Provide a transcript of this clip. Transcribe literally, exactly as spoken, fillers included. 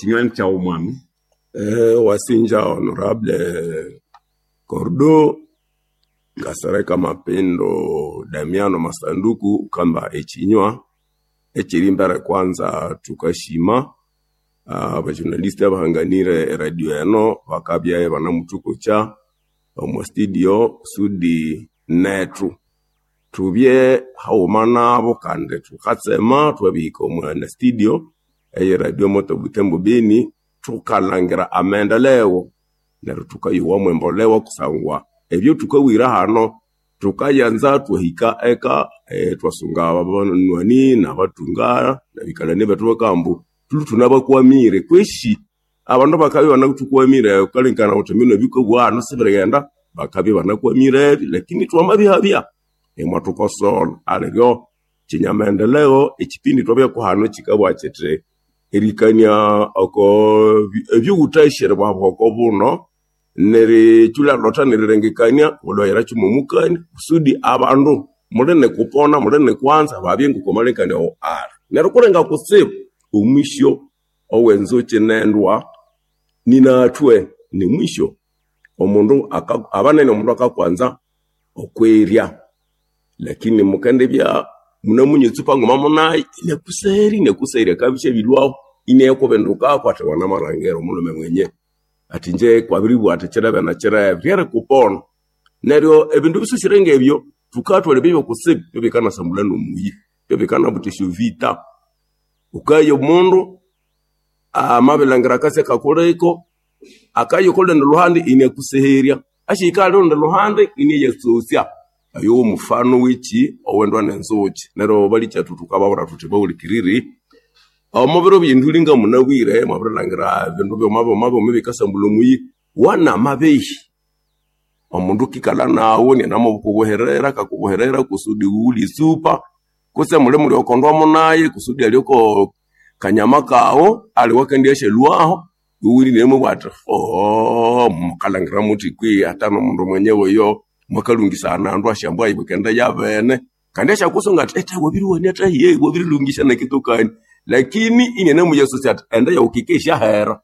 Ekinywa ni kyawu mwami. Eh wasinja honorable Kordo Kasereka Mapendo Damiano Masanduku ghukamba ekinywa ekyerimbere kwanza thukasima aba journalist abahanganire e radio eno bakabya ibanemuthukocha omwa studio kusudi nethu thubye haghuma nabo kandi thukatsema thwabirihika omwa studio eye radio moto Butembo Beni thukalhangira amaendeleo neryo thukayowa mwembolewa kusangwa ebyothukabwira hano thukayanza ithwahika eka ithwasunga abanywani nabathunga nabikalani bethu ibakabugha ambu thulhwe ithunabakwamire kwesi abandu bakabya ibanathukwamire ghukalengekania ghuthi mbino ebyukabuwa hano sibirighenda bakabya ibanakwamirebyo lakini thwamabihabya imwathukosolha aliryo kinyamaendeleo ekipindi thwabyako hano kikabugha kithi erikania oko ebyoghuthashi eribwahabuha oko buno nerikyulha nerilengekania wulhwayira mwomukania kusudi abandu muli nikupona muli nikwanza babye ngoko amalengekania agho ali neryo kulinga kutsibu omwisyo owenzuki nendwa ninathwe nimwisyo omundu aka abanene omundu akakwanza okwirya lakini mukendibya munamunywa etsupa nguma munayo inakuseherya inakuseherya akabya isyabilhwaho inayakubindukako athi wanamalhangira omulhume mwenye athi inje kwabiribugha athi kirebe na kirebe ryerikupona neryo ebindu bisusire ngebyo thukathwalha ebyabya kutsibu byebikanasambulha nomuyi byebikanabutha esyovita ghukaya omundu amabilhangira akasi akakuliko akaya okolundi luhandi inakuseherya asyahika ahali olundi luhandi inayatsosya oyo womufano wekyi owendwa nenzuki neryo balikyethu thukababwira thuthi bahulikiriri omubiro byenduli ngamunabwire mwabirilhangira ebindu byuma byuma byuma ebikasambulha omuyi wanamabehi omundu akikalha naghu inanamukubuhirira akakubuhirira kusudi ghulye esupa kutse muli muli okondwa munaye kusudi alye oko kanyama kaghu aliwe akendiyasyalhwaho iwe inamubugha athi ooo mukalhangira muthi kwihi hata nomundu mwenyewe oyo mwakalhungisana andu asyambwa ibukende yabene kandi asyakusunga athi ethe wabiriwania thahi wabirilhungisya nekitokani lakini inanamuyasosa athi enda yaghu kike isyahera.